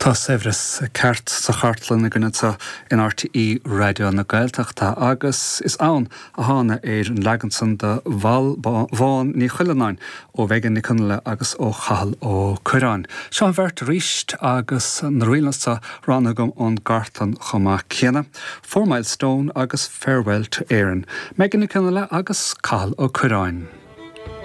Tá saibhreas ceart sa chartlann againn anseo in RTÉ Raidió na Gaeltachta agus is ann a thána ar an leagan san de Bhall Bhán Ní Chuilleanáin ó Mhegan Nic Fhionnghaile agus ó Chathal Ó Cuirreáin. Seo an bheirt arís agus na ríleanna seo roghnaithe agam ón gcartlann chomh maith céanna, Four Mile Stone agus Farewell to Erin. Megan Nic Fhionnghaile agus Cathal Ó Cuirreáin.